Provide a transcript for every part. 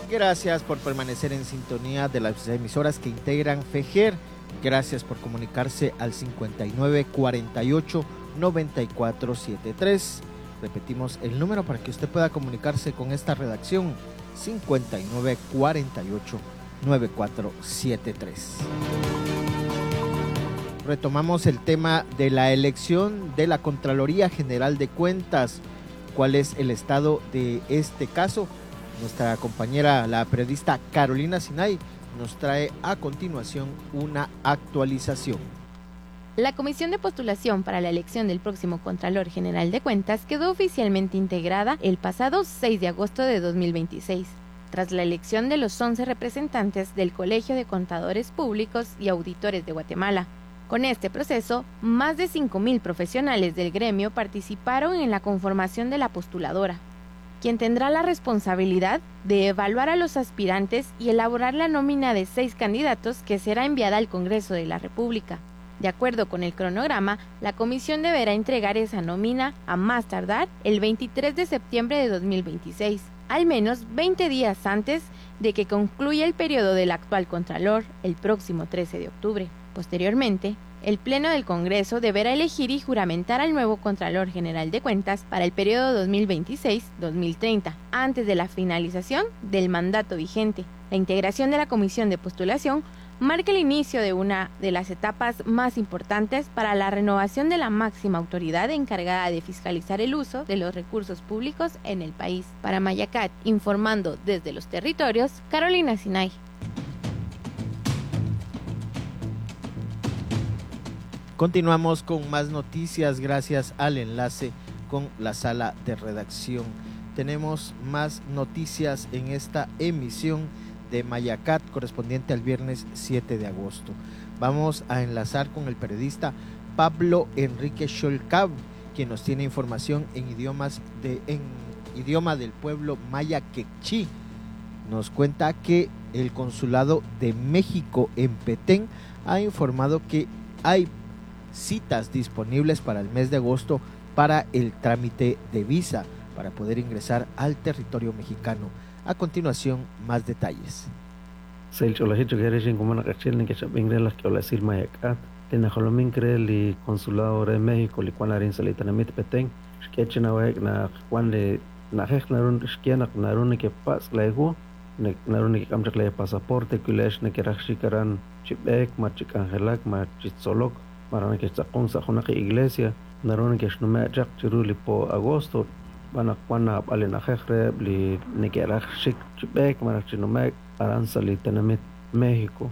Gracias por permanecer en sintonía de las emisoras que integran FEJER. Gracias por comunicarse al 59 48 94 73. Repetimos el número para que usted pueda comunicarse con esta redacción: 59 48 94 73. Retomamos el tema de la elección de la Contraloría General de Cuentas. ¿Cuál es el estado de este caso? Nuestra compañera, la periodista Carolina Sinay, nos trae a continuación una actualización. La comisión de postulación para la elección del próximo Contralor General de Cuentas quedó oficialmente integrada el pasado 6 de agosto de 2026, tras la elección de los 11 representantes del Colegio de Contadores Públicos y Auditores de Guatemala. Con este proceso, más de 5.000 profesionales del gremio participaron en la conformación de la postuladora, quien tendrá la responsabilidad de evaluar a los aspirantes y elaborar la nómina de 6 candidatos que será enviada al Congreso de la República. De acuerdo con el cronograma, la comisión deberá entregar esa nómina a más tardar el 23 de septiembre de 2026, al menos 20 días antes de que concluya el periodo del actual Contralor, el próximo 13 de octubre. Posteriormente, el Pleno del Congreso deberá elegir y juramentar al nuevo Contralor General de Cuentas para el periodo 2026-2030, antes de la finalización del mandato vigente. La integración de la Comisión de Postulación marca el inicio de una de las etapas más importantes para la renovación de la máxima autoridad encargada de fiscalizar el uso de los recursos públicos en el país. Para Mayacat, informando desde los territorios, Carolina Sinay. Continuamos con más noticias gracias al enlace con la sala de redacción. Tenemos más noticias en esta emisión de Mayacat correspondiente al viernes 7 de agosto. Vamos a enlazar con el periodista Pablo Enrique Xolcab, quien nos tiene información en idioma del pueblo maya quechí. Nos cuenta que el Consulado de México en Petén ha informado que hay citas disponibles para el mes de agosto para el trámite de visa para poder ingresar al territorio mexicano. A continuación, más detalles. Consulado de México, pasaporte, iglesia, agosto, México.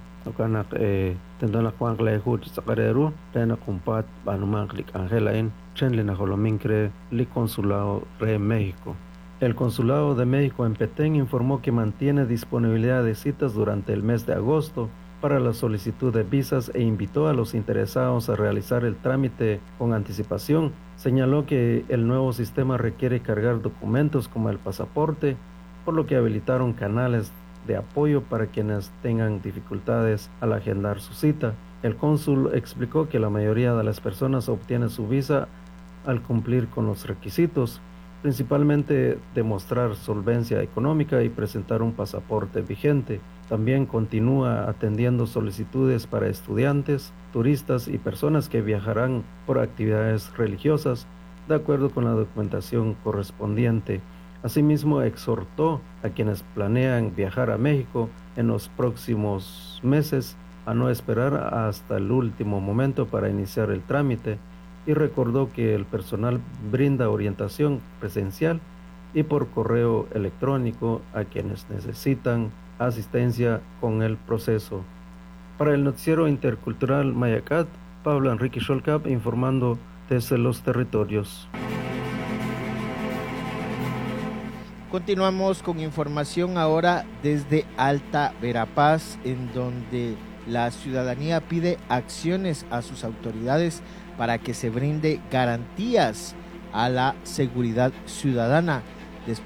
México. El Consulado de México en Petén informó que mantiene disponibilidad de citas durante el mes de agosto para la solicitud de visas e invitó a los interesados a realizar el trámite con anticipación. Señaló que el nuevo sistema requiere cargar documentos como el pasaporte, por lo que habilitaron canales de apoyo para quienes tengan dificultades al agendar su cita. El cónsul explicó que la mayoría de las personas obtiene su visa al cumplir con los requisitos, principalmente demostrar solvencia económica y presentar un pasaporte vigente. También continúa atendiendo solicitudes para estudiantes, turistas y personas que viajarán por actividades religiosas, de acuerdo con la documentación correspondiente. Asimismo, exhortó a quienes planean viajar a México en los próximos meses a no esperar hasta el último momento para iniciar el trámite y recordó que el personal brinda orientación presencial y por correo electrónico a quienes necesitan asistencia con el proceso. Para el noticiero intercultural Mayacat, Pablo Enrique Xolcab informando desde los territorios. Continuamos con información ahora desde Alta Verapaz, en donde la ciudadanía pide acciones a sus autoridades para que se brinde garantías a la seguridad ciudadana.